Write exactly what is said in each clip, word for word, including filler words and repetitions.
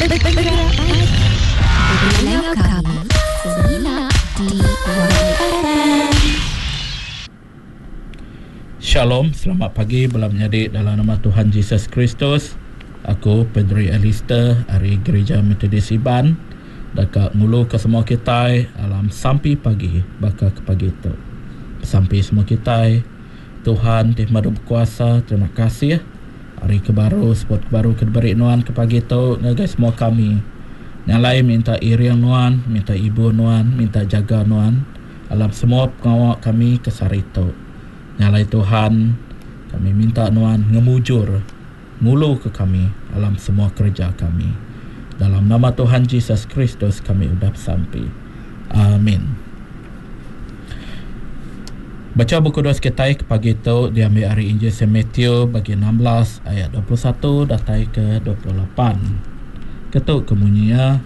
Begulai kami semina di Y F M. Shalom, selamat pagi bala menyadi dalam nama Tuhan Jesus Kristus. Aku Pedri Alister ari Gereja Methodist Iban deka ngulu ke semua kitai alam sampi pagi baka ke pagi tu. Sampi semua kitai, Tuhan ti pemadu bekuasa, terima kasih hari ke baru, sebut ke baru ke diberi nuan ke pagi tu ngagai semua kami. Nyalai minta iring nuan, minta ibu nuan, minta jaga nuan alam semua pengawa kami ke sehari tu. Nyalai Tuhan, kami minta nuan ngemujur ngulu ke kami alam semua kerja kami. Dalam nama Tuhan Jesus Kristus kami udah bersampi. Amin. Baca buku kudus kita ke pagi tu diambil ari Injil Saint Matthew bagi enam belas ayat dua puluh satu datai ke dua puluh lapan. Ketu kemunyia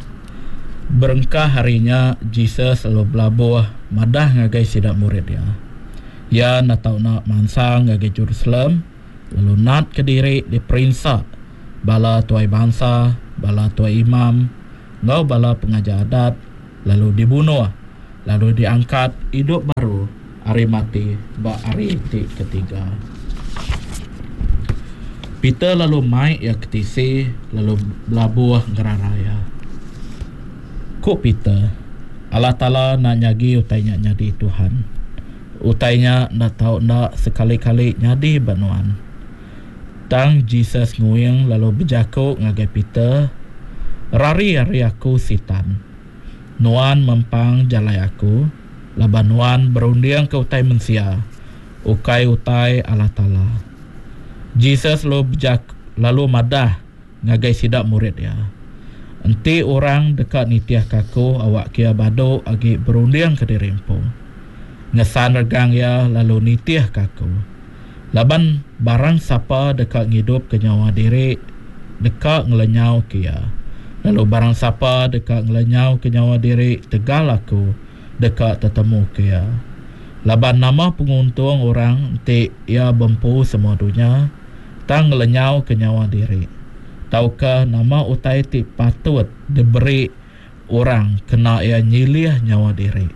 berengkah harinya Jesus lalu belabuh madah ngagai sida murid dia. Ia nak tau nak mansang ngagai Jerusalem lalu nat ke diri diperinsa bala tuai bangsa, bala tuai imam ngau bala pengajar adat lalu dibunuh lalu diangkat hidup baru hari mati ba hari ti ketiga. Peter lalu mai ia ke tisi lalu belabuh ngerara ia. Ku Peter, Allah Taala nak nyagi utainya nyadi Tuhan. Utainya nak tau nak sekali-kali nyadi banuan. Tang Jesus nguing lalu berjaku ngagai Peter, rari ari aku sitan. Nuan mempang jalai aku, laban nuan berunding ke utai mensia, ukai utai Allah Taala. Jesus lalu berjak, lalu madah ngagai sidak murid dia. Enti orang dekat nitiah kaku awak kia badu agi berunding ke diri empu. Ngesan regang ia lalu nitiah kaku. Laban barang sapa dekat ngidup ke nyawa diri dekat ngelenyau ke ia. Lalu barang sapa dekat ngelenyau ke nyawa diri tegal aku dekat tetemu ke ia. Laban nama penguntung orang enti ia bempu semua dunia tang ngelenyau ke nyawa diri. Tauka nama utai ti patut diberi orang kena ia nyilih nyawa diri.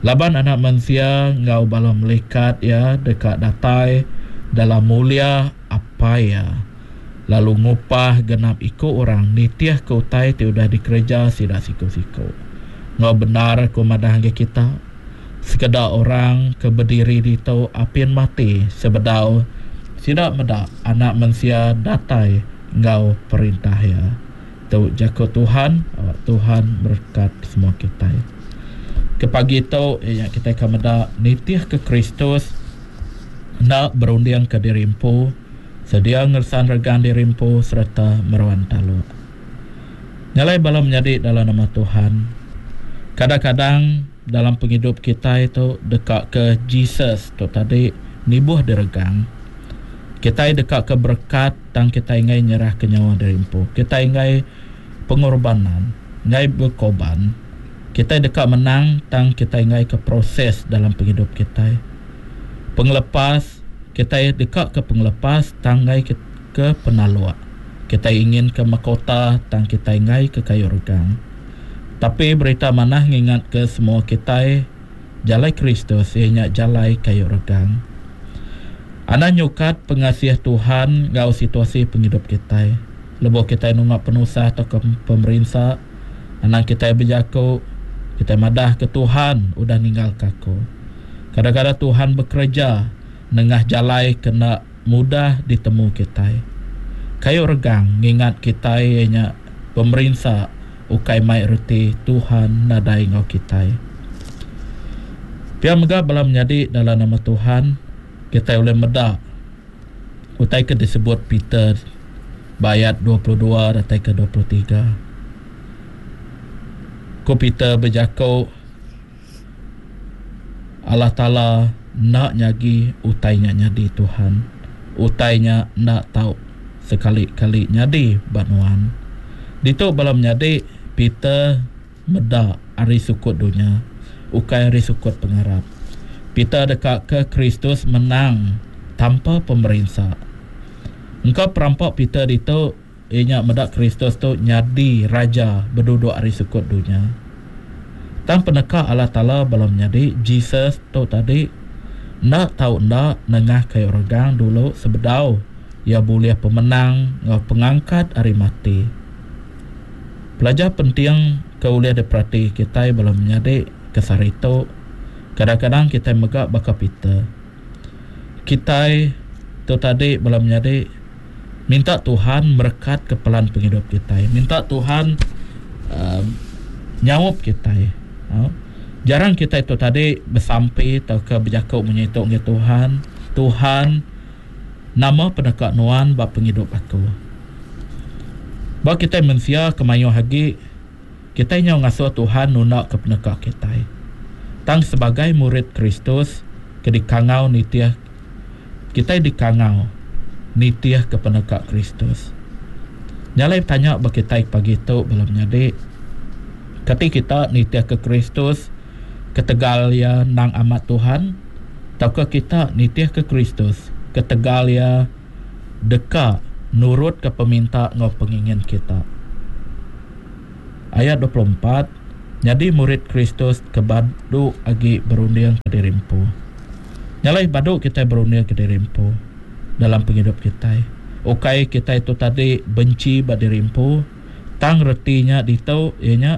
Laban anak manusia ngau bala malaikat ia dekat datai dalam mulia apa ia. Lalu ngupah genap iku orang nitiah ke utai ti udah dikereja sida siku-siku. Ngau benar aku madah ngagai kita, sekeda orang ke berdiri ditu apin mati sebedau sida meda anak manusia datai ngau perintah ia. Tu jaku Tuhan, awak Tuhan berkat semua kita. Ke pagi tu ya kita akan meda nitih ke Kristus nak berunding ke diri empu, sedia ngersan regang diri empu serta meruan taluk. Nyalai bala menyadi dalam nama Tuhan. Kadang-kadang dalam penghidup kita itu dekat ke Jesus tu tadi nibuh diregang. Kita dekat ke berkat tang kita ingai nyerah ke nyawa diri empu. Kita ingai pengorbanan, ingai berkorban. Kita dekat menang tang kita ingai ke proses dalam penghidup kita. Penglepas, kita dekat ke penglepas tang ingai ke, ke penaluak. Kita ingin ke mahkota tang kita ingai ke kayu regang. Tapi berita manah ngingat ke semua kita jalai Kristus ianya jalai kayu regang. Ana nyukat pengasih Tuhan ngau situasi penghidup kita. Lebuh kita nungak penusah atau ke pemerinsa, anak kita berjaku, kita madah ke Tuhan udah ninggal kaku. Kadang-kadang Tuhan bekerja nengah jalai kena mudah ditemu kita. Kayu regang ngingat kita ianya pemerinsa ukai mai reti Tuhan nadai ngau kita. Pia mega bala menyadi dalam nama Tuhan, kita boleh medak utai ke disebut Peter ayat dua puluh dua datai ke dua puluh tiga. Ku Peter berjaku Allah Taala nak nyagi utainya nyadi Tuhan. Utainya nak tau sekali-kali nyadi banuan. Ditu bala menyadi Peter medak ari sukut dunia, ukai ari sukut pengarap. Peter dekat ke Kristus menang tanpa pemerinsa. Engkau perampok Peter ditu iya nya meda Kristus tu nyadi raja beduduk ari sukut dunya. Tang peneka Allah Taala bala menyadi Jesus tu tadi enda tau enda nengah kayu regang dulu sebedau iya bulih pemenang enggau pengangkat ari mati. Pelajar penting ke ulih diperati kitai bala menyadi ke sehari tu, kadang-kadang kitai mega baka Peter. Kitai tu tadi bala menyadi minta Tuhan merekat ke pelan pengidup kitai. Minta Tuhan uh, nyaup kitai. Uh, jarang kitai tu tadi besampi tauka bejaku munyi tu ngagai Tuhan. Tuhan, nama peneka nuan ba pengidup aku? Ba kitai mensia kemayuh agi, kitai nyau ngasuh Tuhan nunda ke peneka kitai. Tang sebagai murid Kristus ke dikangau nitih, kitai dikangau nitih ke peneka Kristus. Nyalai tanya ba kitai pagi tu bala menyadi, kati kita nitih ke Kristus ketegal ia nang amat Tuhan, tauka kita nitih ke Kristus ketegal ia deka nurut ke peminta enggau pengingin kita? Ayat dua puluh empat, nyadi murid Kristus ke badu agi berunding ke diri empu. Nyalai badu kita berunding ke diri empu dalam pengidup kitai. Ukai kitai tu tadi benci ba diri empu, tang retinya ditu iya nya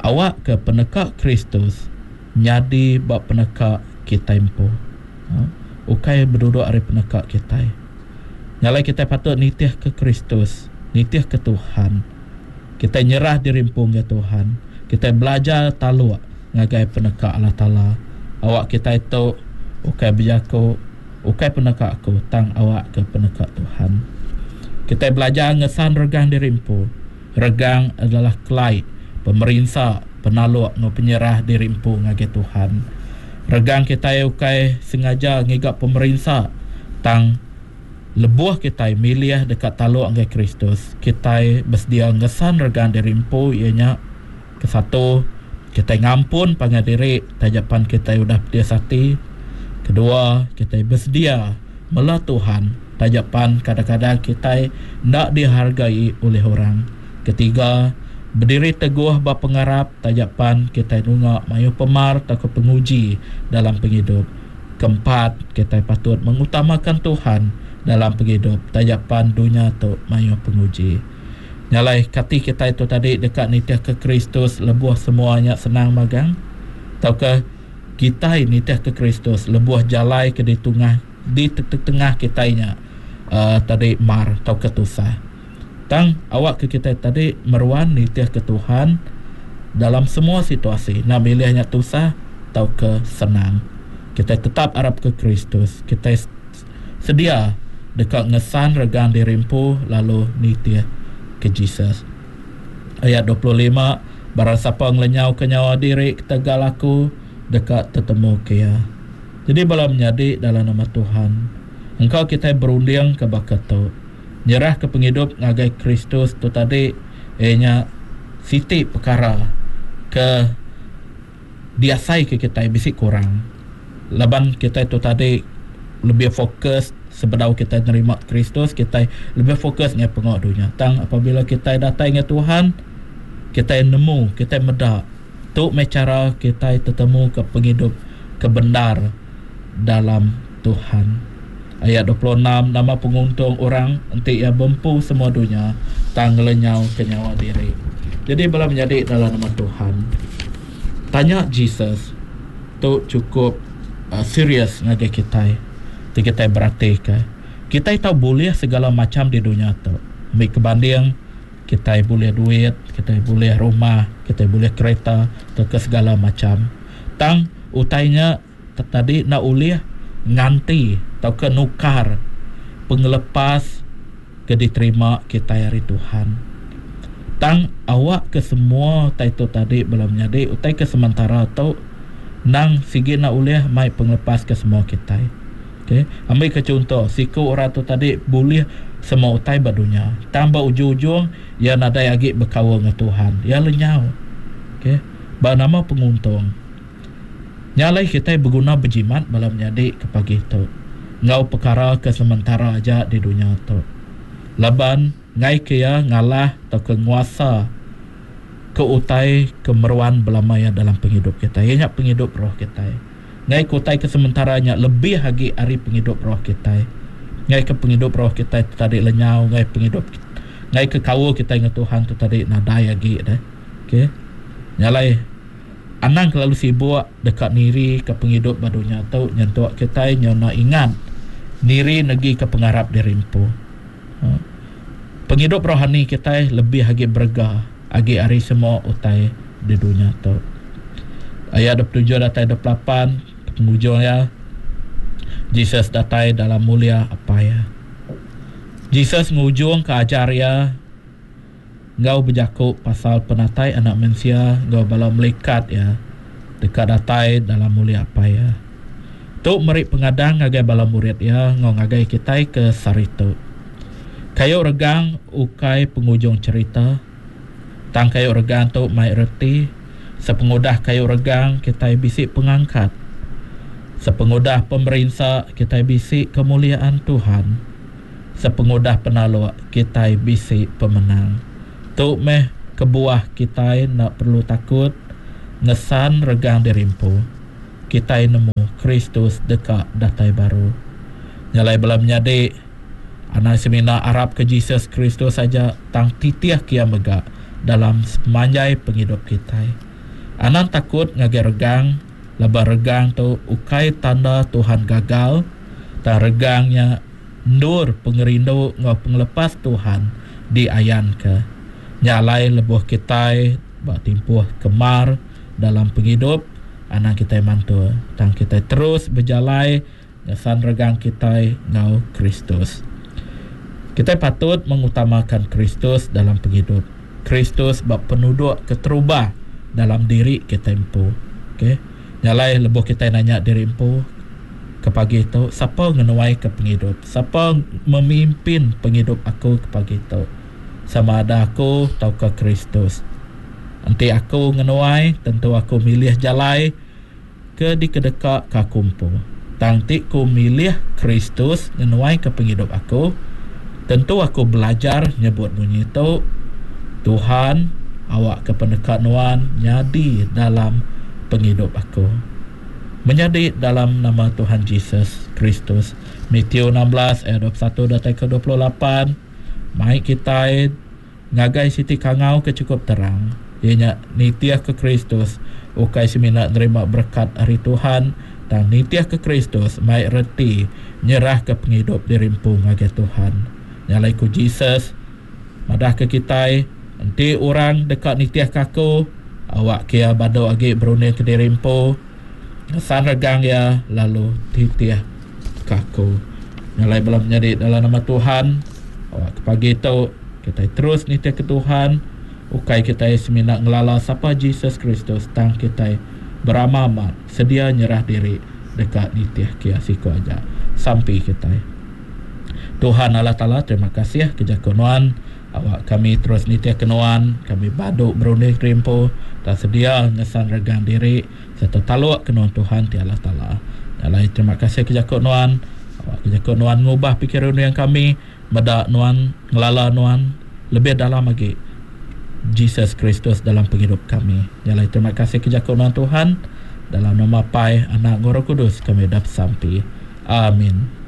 awak ke peneka Kristus nyadi ba peneka kitai empu. Ha? Ukai berduduk ari peneka kitai. Nyalai kitai patut nitih ke Kristus, nitih ke Tuhan. Kitai nyerah diri empu ngagai Tuhan. Kitai belajar taluk ngagai peneka Allah Taala. Awak kitai tu ukai bejaku, ukai peneka aku, tang awak ke peneka Tuhan. Kitai belajar ngesan regang diri empu. Regang adalah kelai pemerinsa, penaluk enggau penyerah diri empu ngagai Tuhan. Regang kitai ukai sengaja ngiga pemerinsa, tang lebuh kitai milih dekat taluk ngagai Kristus, kitai bersedia ngesan regang diri empu, iya nya kesatu, kitai ngampun pangan diri tajapan kitai udah pedis ati. Kedua, kitai bersedia mela Tuhan tajapan kadang-kadang kitai enda dihargai oleh orang. Ketiga, berdiri teguh ba pengarap tajapan kitai nunga mayuh pemar atau penguji dalam pengidup. Keempat, kitai patut mengutamakan Tuhan dalam pengidup tajapan dunia tu mayuh penguji. Nyalai kati kitai tu tadi dekat nitih ke Kristus lebuh semuanya senang magang, tauka kitai nitih ke Kristus lebuh jalai ke di tengah di tengah kitai nya uh, tadi mar tauka tusah. Tang awak ke kitai tadi meruan nitih ke Tuhan dalam semua situasi, nak milihnya tusah tauka senang. Kitai tetap arap ke Kristus. Kitai sedia dekat ngesan regang diri empu lalu nitih ke Jesus. Ayat dua puluh lima, barang siapa ngelenyau ke nyawa diri ketegal aku dekat tetemu ke ia. Jadi bala menyadi dalam nama Tuhan, engkau kita berunding ke baka tu, nyerah ke pengidup ngagai Kristus tu tadi ianya siti perkara ke diasai ke kita bisi kurang. Laban kita tu tadi lebih fokus sebedau kita nerima Kristus, kita lebih fokus dengan pengok dunia. Tang apabila kita datang dengan Tuhan, kita nemu, kita medak tu meh cara kita tetemu ke pengidup kebenar dalam Tuhan. Ayat dua puluh enam, nama penguntung orang enti ia bempu semua dunia tang ngelenyau ke nyawa diri. Jadi bala menyadi dalam nama Tuhan, tanya Jesus tu cukup uh, serius ngagai kitai. Ti kitai berati ke kitai tau boleh segala macam di dunia tu. Ambil kebanding, kitai boleh duit, kitai boleh rumah, kitai boleh kereta, atau ke segala macam. Tang utainya tadi nak ulih nganti atau ke nukar pengelepas ke diterima kitai hari Tuhan. Tang awak ke semua utai tu tadi bala menyadi utai ke sementara tu nang sigi nak ulih mai pengelepas ke semua kitai. Okey, ambil ke contoh, siku orang tu tadi boleh semua utai ba dunia. Tang ba ujung-ujung ia nadai agi berkaul dengan Tuhan. Ia lenyau. Okey, ba nama penguntung. Nyalai kitai berguna berjimat bala menyadi ke pagi tu. Ngau perkara ke sementara aja di dunia tu. Laban Ngai ke iya ngalah atau ke nguasa ke utai ke meruan belama iya dalam pengidup kita. Iya nya pengidup roh kita. Ngai ke utai ke sementara nya lebih lagi ari pengidup roh kita. Ngai ke pengidup roh kita tadi lenyau, ngai pengidup ngai ke kaul kita dengan Tuhan tu tadi nadai lagi dah. Okey. Nyalai anang kelalu sibuk dekat niri ke pengidup ba dunya tu nyentuk kita nyona ingat niri negi ke pengarap diri empu. Ha. Pengidup rohani kita lebih lagi berega agi ari semua utai di dunia tu. Ayat dua puluh tujuh datai dua puluh lapan penghujung ya. Jesus datai dalam mulia apa ya. Jesus ngujung ke ajar ya ngau berjaku pasal penatai anak manusia ngau bala malaikat ya dekat datai dalam mulia apa ya. Tu meri pengadang ngagai bala murid ya ngau ngagai kita ke saritu. Kayu regang ukai penghujung cerita. Tang kayu regang tu mai reti sepengudah kayu regang kita bisi pengangkat. Sepengudah pemerinsa kita bisi kemuliaan Tuhan. Sepengudah penaluk kita bisi pemenang. Tu meh kebuah kita nak perlu takut ngesan regang dirimpu. Kita nemu Kristus dekat datai baru. Nyalai bala menyadi anak semina arap ke Jesus Kristus saja tang titih kia mega dalam semanjai penghidup kita. Anang takut ngagai regang, lebar regang tu ukai tanda Tuhan gagal, tang regangnya ndur pengerindu ngau pengelepas Tuhan diayan ke. Nyalai lebuh kita bak timpuh kemar dalam penghidup, anang kita mantu, tang kita terus berjalai ngesan regang kita ngau Kristus. Kita patut mengutamakan Kristus dalam penghidup. Kristus bak penuduk keterubah dalam diri kita empu. Okey. Nyalai lebuh kita nanya diri empu ke pagi tu, siapa ngenuai ke penghidup? Siapa memimpin penghidup aku ke pagi tu? Sama ada aku atau ke Kristus. Enti aku ngenuai, tentu aku milih jalai ke dikedeka ke aku empu. Tang ti ku milih Kristus ngenuai ke penghidup aku, tentu aku belajar nyebut bunyi tu, Tuhan, awak ke pendekat nuan nyadi dalam penghidup aku. Menjadi dalam nama Tuhan Jesus Kristus. Matius enam belas ayat dua puluh satu datai ke dua puluh lapan. Mai kita ngagai siti kangau ke cukup terang. Ianya nitiah ke Kristus ukai semina nerima berkat ari Tuhan, tang nitiah ke Kristus mai reti nyerah ke penghidup diri empu ngagai Tuhan. Nyalai ku Jesus madah ke kita enti orang dekat nitiah ke aku, awak kia badu agi berunding ke diri empu, ngesan regang ya lalu titiah ke aku. Nyalai bala menyadi dalam nama Tuhan, awak ke pagi tu kita terus nitiah ke Tuhan. Ukai kita semina ngelala sapa Jesus Kristus, tang kita beramah amat sedia nyerah diri dekat nitiah kia siku aja. Sampai kita. Tuhan Allah Ta'ala, terima kasih ke jaku nuan. Awak kami terus nitiah ke nuan, kami baduk berunding kerimpu, tak sedia ngesan regang diri serta taluk ke nuan Tuhan ti Allah Ta'ala. Nyalai terima kasih ke jaku nuan. Awak ke jaku nuan ngubah pikiran yang kami, medak nuan, ngelala nuan lebih dalam lagi Jesus Kristus dalam penghidup kami. Nyalai terima kasih ke jaku nuan Tuhan. Dalam nama Pai, Anak, Roh Kudus kami dah sampai. Amin.